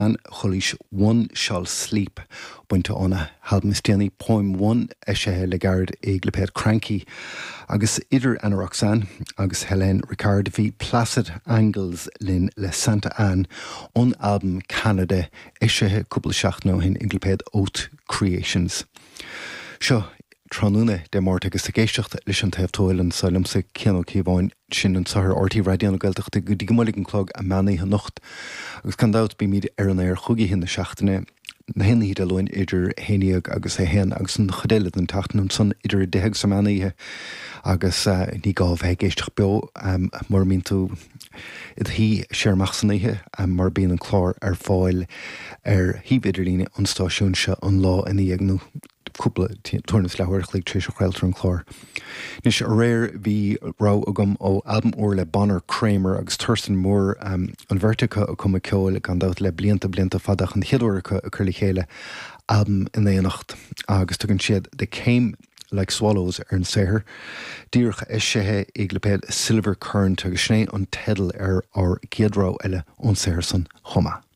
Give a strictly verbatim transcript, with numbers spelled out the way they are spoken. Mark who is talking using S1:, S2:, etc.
S1: Chualaís One Shall Sleep bainte óna halbam is déanaí Poem One eisithe le gairid i gclipéad Kranky. Agus idir Ana Roxanne agus Hélène Ricard bhí Placid Angles linn le Santa Anne ón albam Canada eisithe cúpla seachtain ó shin i gclipéad Oath Creations. Seo tráthnóna Dé Máirt agus ag éisteacht leis an Taobh Tuathail anseo liomsa Cian Ó Cíobháin sin anseo ar RTÉ Raidió na Gaeltachta go dtí go mbuailfidh an clog an meán oíche anocht. Agus gan dabht bímid ar an aer chúig oíche na seachtaine na haon oíche Dé Luain idir a haon déag agus a haon agus an chuid eile den tseachtain ansan idir a deich agus an meán oíche agus uh, ní gá bheith ag éisteacht beo um, mura mbíonn tú i do shuí siar amach san oíche um, mar bíonn an clár ar fáil ar shuíomh idirlíne an stáisiúin seo an lá ina dhiaidh nó cúpla tuairim is leathuair a chloig tar éis a chraoltar an clár. Anois aréir bhí rogha agam ó albam úr le Bonner Kramer agus Thurston Moore um, an bheirt acu ag cumadh ceoil gan dabht le blianta blianta fada an chéad uair acu ag cur le chéile albam in éineacht agus tugann siad They Came Like Swallows ar an saothar. Díreach eisithe i gclipéad Silver Current agus sin é an teideal ar ár gcéad rogha eile ón saothar san chomh maith.